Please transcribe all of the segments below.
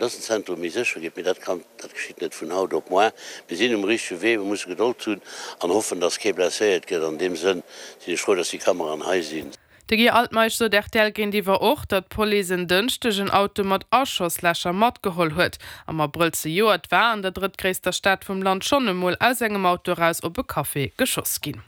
Dass den Zentrum méi sécher gétt, mee dat kann, dat geschitt net vun haut op moar. Mir sinn um richtege Wee, mir musse Gedold hunn an hoffen, dass kee blesséiert gëtt. An deem Sënn sinn ech frou, dass déi Kameraen hei sinn. De Guy Altmeisch sot rtl géintiwwer och, datt d'Police en Dënschdeg en Auto mat Aschosslächer matgeholl huet. Am Abrëll zejoert war an der drëttgréisster Stad vum Land schonn emol aus engem Auto eraus op e Café geschoss ginn.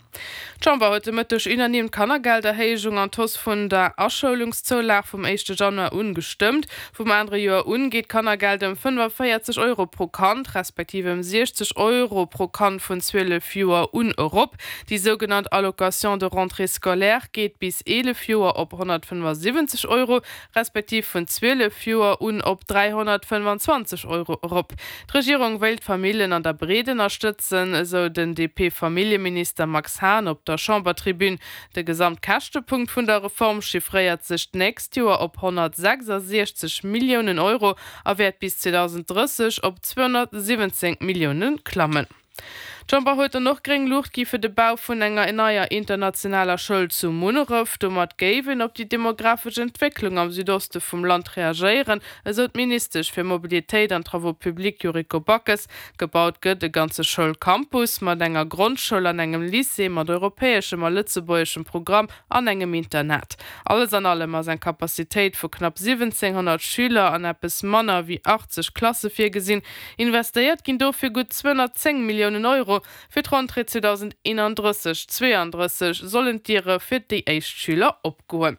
D'Chamber huet de Mëtteg unanime d'Kannergelderhéijung an d'Hausse vun der Aschoulungszoulag vum éischte Januar un gestëmmt. Vum anere Joer un geet d'Kannergeld ëm 45 Euro pro Kand, respektiv ëm 60 Euro pro Kand vun 12 Joer un erop. Déi sougenannt Allocation de rentrée scolaire geet bis 11 Joer op 175 Euro, respektiv vun 12 Joer un op 325 Euro erop. D'Regierung wéilt d'Famillen an der Breet ënnerstëtzen, esou den DP-Familljeminister Max Hahn op der Chambertribün. De Gesamtkäschtepunkt vun der Reform chiffréiert sech d'nächst Joer op 166 Milliounen Euro a wäert bis 2030 op 217 Millioune klammen. D'Chamber huet dann och gréng Luucht gi fir de Bau vun enger neier internationaler Schoul zu Munneref. Domat géif een op déi demografesch Entwécklung am Südoste vum Land reagéieren, esou d'Ministesch fir Mobilitéit an Travaux publics Yuriko Backes. Gebaut gëtt e ganze Schoulcampus mat enger Grondschoul an engem Lycée mat europäeschem a lëtzebuergeschem Programm an engem Internat. Alles an allem ass eng Capacitéit vu knapp 1.700 Schüler an eppes manner wéi 80 Klasse virgesinn. Investéiert ginn dofir gutt 210 Milliounen Euro. Fir d'Rentrée 2031, 32 sollen d'Diere fir déi éischt Schüler opgoen.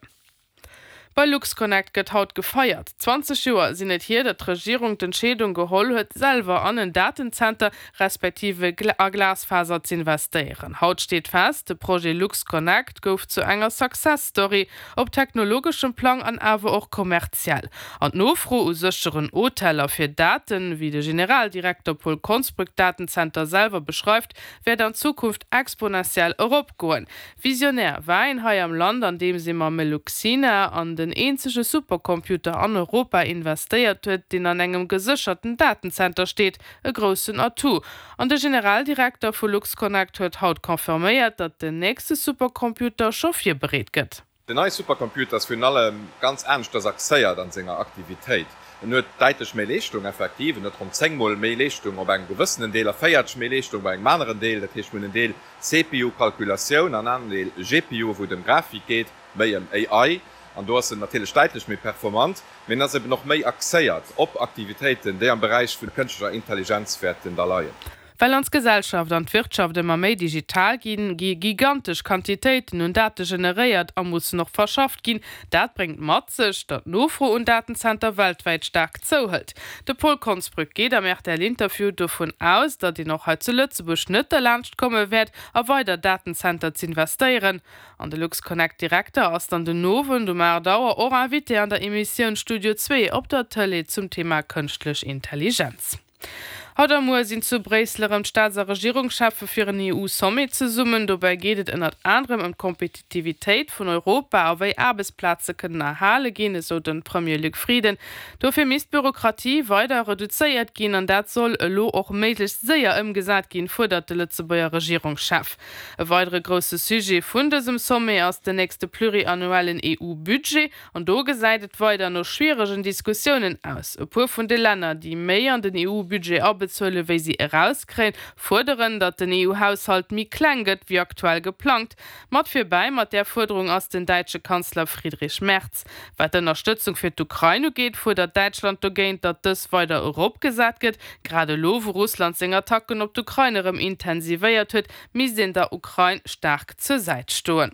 Bei LuxConnect gëtt haut gefeiert. 20 Joer sinn et hier, datt d'Regierung d'Entscheedung geholl huet, selwer an en Datenzenter respektive a Glasfaser z'investéieren. Haut steet fest, de Projet LuxConnect gouf zu enger Success Story. Op technologeschem Plang an awer och kommerziell. An d'Nofro u sécheren Hoteller fir Daten, wéi de Generaldirekter Paul Konsbrück d'Datenzenter selwer beschreift, wäert an Zukunft exponentiell eropgoen. Visionär war een hei am Land, andeems ee mam Meluxina an den eenzege Supercomputer an Europa investéiert huet, deen an engem gesécherten Datenzenter steet. E groussen Atout. An de Generaldirekter vu LuxConnect huet haut confirméiert, datt den nächste Supercomputer scho virbereet gëtt. Den neie Supercomputer ass virun allem ganz aneschters axéiert an senger Aktivitéit. En huet däitlech méi Leeschtung, effektiv, en huet ronn 10 mol méi Leeschtung op engem gewëssenen Deel a 40 méi Leeschtung bei engem aneren Deel. Dat heescht, mir hunn en Deel CPU-Kalkulatioun an en aneren Deel GPU, wou et ëm Grafik geet, méi ëm AI. An do ass en natierlech däitlech méi performant, mee en ass eben och méi axéiert op Aktivitéiten, déi am Beräich vun kënschtlecher Intelligenz wäerten da leien. Well ons Gesellschaft an d'Wirtschaft ëmmer méi digital ginn, gi gigantesch Quantitéiten un Date generéiert a mussen och verschafft ginn. Dat bréngt mat sech, datt d'Nofro un Datenzenter weltwäit staark zouhëlt. De Paul Konsbrück geet am RTL-Interview dovun aus, datt een och hei zu Lëtzebuerg net derlaanscht komme wäert, a weider Datenzenter z'investéieren. An de LuxConnect-Direkter ass dann den Owend um 8 Auer och Invité an der Emissioun Studio Zwee op der Tëlee zum Thema Kënschtlech Intelligenz. Haut a muer sinn zu Bréissel erëm d'Staats a Regierungscheffe fir en EU-Sommet zesummen. Dobäi geet et ënnert anerem ëm d'Kompetitivitéit vun Europa a wéi Aarbechtsplaze kënnen erhale ginn, esou de Premier Luc Frieden. Dofir misst d'Bürokratie weider reduzéiert ginn an dat soll elo och méiglechst séier ëmgesat ginn, fuerdert de Lëtzebuerger Regierungschef. E weidere grousse Sujet vun dësem Sommet ass den nächste pluriannuellen EU-Budget. An do gesäit et weider no schwieregen Diskussiounen aus. E puer vun de Länner, déi méi an den EU-Budget abezuele wéi si erauskréien, fuerderen, datt den EU-Haushalt méi kleng gëtt wéi aktuell geplangt. Mat virbäi mat där Fuerderung ass den däitsche Kanzler Friedrich Merz. Wat d'Ënnerstëtzung fir d'Ukrain ugeet, fuerdert Däitschland dogéint, datt dës weider eropgesat gëtt. Grad elo, wou Russland seng Attacken op d'Ukrain erëm intensivéiert huet, misst een der Ukrain staark zur Säit stoen.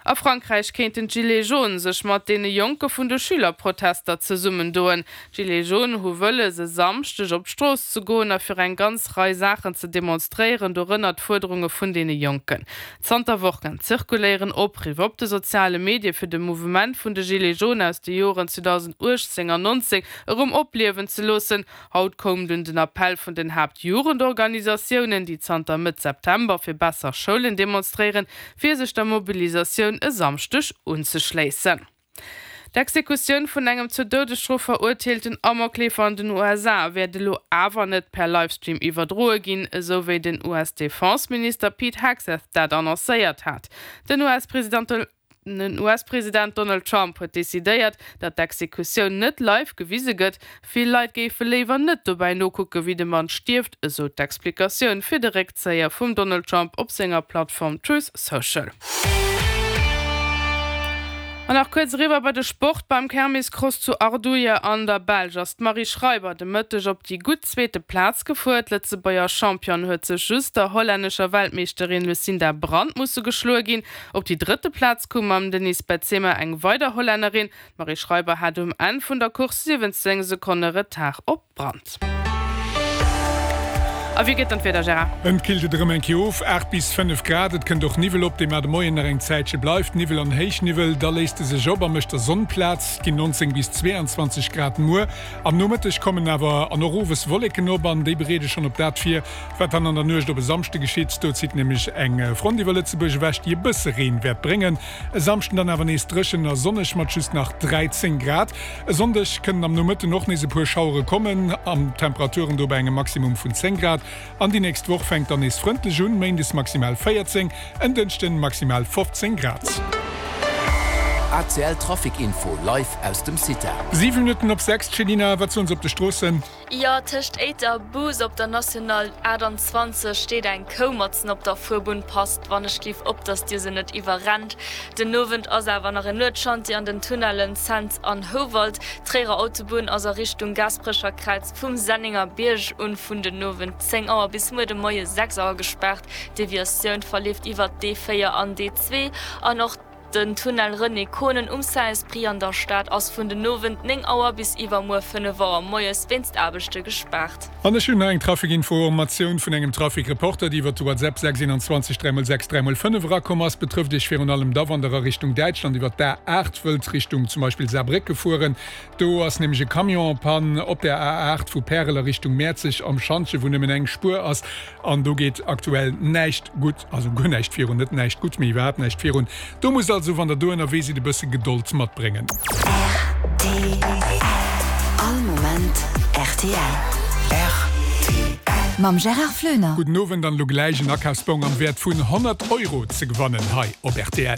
A Frankräich kéinten d'Gilets jaunes sech mat deene Jonke vun de Schülerprotester zesummendoen. D'Gilets jaunes hu wëlles, e Samschdeg op d'Strooss ze goen a fir eng ganz Rei Saachen ze demonstréieren, dorënner d'Fuerderunge vun deene Jonken. Zanter Wochen zirkuléieren Opriff op de soziale Medie fir de Mouvement vun de Gilets jaunes aus de Joren 2018 an 19 erëm opliewen ze loossen. Haut koum dunn den Appell vun den Haaptjugendorganisatiounen, déi zanter Mëtt September fir besser Schoulen demonstréieren, fir sech der Mobilisatioun e Samschdeg unzeschléissen. D'Exekutioun vun engem zur Doudesstrof verurteelten Amokleefer an den USA wäert elo awer net per Livestream iwwerdroe ginn, esou wéi den US-Defenseminister Pete Hegseth dat annoncéiert hat. Den US-President. Den US-President Donald Trump huet decidéiert, datt d'Exekutioun net live gewise gëtt. Vill Leit géife léiwer net dobäi nokucke wéi de Mann stierft, esou d'Explikatioun fir de Réckzéier vum Donald Trump op senger Plattform Truth Social. An nach kuerz eriwwer bei de Sport, Beim Kermiscross zu Ardooie an der Belsch ass d'Marie Schreiber de Mëtteg op déi gutt zweete Plaz gefuer. D'Lëtzebuerger Championne huet sech just der hollännescher Weltmeeschterin Lucinda Brand musse geschloe ginn. Op déi drëtte Plaz koum mam Denise Betsema eng weider Hollännerin. D'Marie Schreiber hat um Enn vun der Course 17 Sekonne Retard op d'Brand. A wéi gëtt dann d'Wieder, Gérard? Et killt et erëm eng Kéier of, 8 bis 5 Grad. Et kënnt och Niwwel op, dee mar de Moien nach eng Zäitche bleift. Niwwel an Héichniwwel, da léisst e sech op a mécht der Sonn Plaz. Et ginn 19 bis 22 Grad muer. Am Nomëtteg kommen awer an och owes Wolleken op an déi bereede schonn op dat vir, wat dann an der Nuecht op e Samschde geschitt. Do zitt nämlech eng Front iwwer Lëtzebuerg ewech, déi e bësse Reen wäert bréngen. E Samschden dann awer nees dréchen a sonneg mat just nach 13 Grad. E Sonndeg kënnen am Nomëtten och nees e puer Schauere kommen, an Temperaturen do bei engem Maximum vun 10 Grad. An déi nächst Woch fänkt dann nees frëndlech un, méindes maximal 14, en Dënschden maximal 15 Grad. ACL Trafic Info live aus dem CITA. 7 Minutten op 6, Céline, wat soen se op de Stroossen? Jo, tëscht Éiter a Bous op der National 28 steet eng Kou matzen op der Fuerbunn. Passt wann ech giff op, dass dir se net iwwerrennt. Den Owend ass awer nach en Nuetschantier an den Tunnellen Cents an Houwald. D'Tréierer Autobunn ass a Richtung Gaasperecher Kräiz vum Sennenger Bierg un vun den Owend 10 Auer bis muer de Moie 6 Auer gespaart. D'Deviatioun verleeft iwwert d'E4 an d'E2 an och. Den Tunnel René Konen um Saint-Esprit an der Stad ass vun den Owend 9 Auer bis iwwermuer 5 Auer moies wéinst Aarbechte gespaart. An ech hunn nach eng Trafikinformatioun vun engem Trafikreporter, déi iwwer de WhatsApp 6 21 3 x 6 3 x 5 erakomm ass. Betrëfft Iech virun allem da, wann der a Richtung Däitschland iwwer d'A8 wëllt Richtung zum Beispill Saarbrécke fueren. Do ass nämlech e Camion en panne op der A8 vu Pärel a Richtung Mäerzeg am Schantje, wou nëmmen eng Spuer ass an do geet aktuell näischt gutt, also guer näischt virun, net näischt gutt, mee iwwerhaapt näischt virun. Do musst also, wann der do ënnerwee sidd, e bësse Gedold matbréngen. Rtl. All Moment rtl. Rtl. Mam Gérard Floener. Gudden Owend an elo gläich en Akafsbong am Wäert vun 100 Euro ze gewannen hei op rtl.